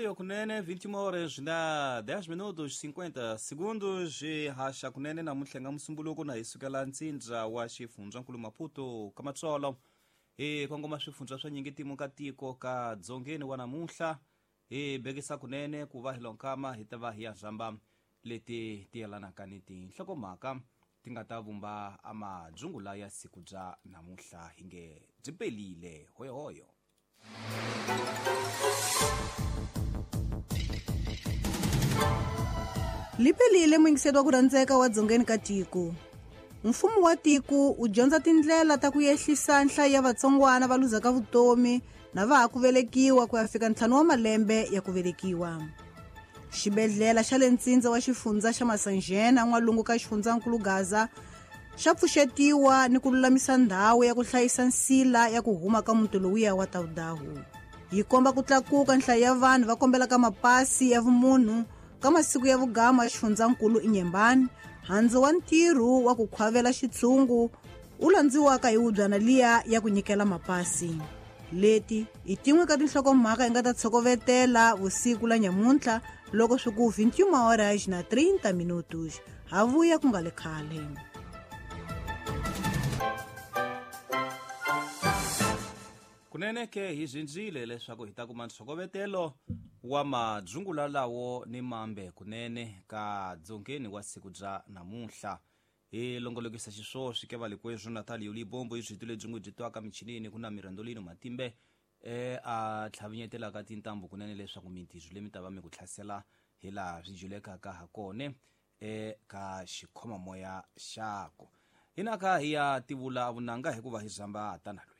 Hoyohoyo kunene 21 horas na 10 minutos 50 segundos hi haxa kunene namuntlha nga musumbuluko na hi sukela ntsindza wa xifundzankulu Maputo ka Matsolo hi kongoma swifundza swa nyingitimu ka tiko ka dzongeni wa namuntlha hi bekisa kunene ku va hi lonkama hi ta va hi ya zamba leti ti yelanaka ni tinhlokomhaka ti nga ta vumba amadzungula ya siku bya namuntlha hi nge byi pelile hoyohoyo. Liphelile muyingiseri wa ku rhandzeka wa dzongeni ka tiko. Mfumo wa tiko wu dyondza tindlela ta ku yehlisa nhlayo ya vatsongwana va luzaka vutomi na va ha ku velekiwa ku ya fika 5 wa malembe ya ku velekiwa. Xibedhlele xa le ntsindza wa xifundza xa Masanjena n'walungu ka xifundzankulu Gaza xa pfuxetiwa ni ku lulamisa ndhawu ya ku hlayisa nsila ya ku huma ka muti lowuya wa Taudahu. Yi komba ku tlakuka nhlayo ya vanhu va kombelaka mapasi ya vumunhu ka masiku ya vugama ya xifundzankulu Inyembani, handzu wa ntirho wa ku khwavela xitshungu wu landziwaka hi wubyana liya ya ku nyikela mapasi. Leti i tin'we ka tinhlokomhaka hi nga ta tshokovetela vusiku la nyamuntlha loko swi ku 21 horas na 30 minutos. Ha vuya ku nga le khale. Kunene ke hi zindzile leswaku hi ta kuma ntshokovetelo wa madzungula lawo ni mambe kunene ka dzongeni wa siku bya namuntlha. Hi longolokisa xiswoswi ke valikwezu Natalio Libombo i byi lebyi n'wi byi twaka michinini ku na Mirandolino Matimbe a tlhavinyetelaka tintambu kunene leswaku mintirho leyi mi ta va mi ku hlasela hi laha swi julekaka ha kone eka xikhomamoya xako. Hinaka hi ya tivula vunanga hikuva hi zamba tanalwe.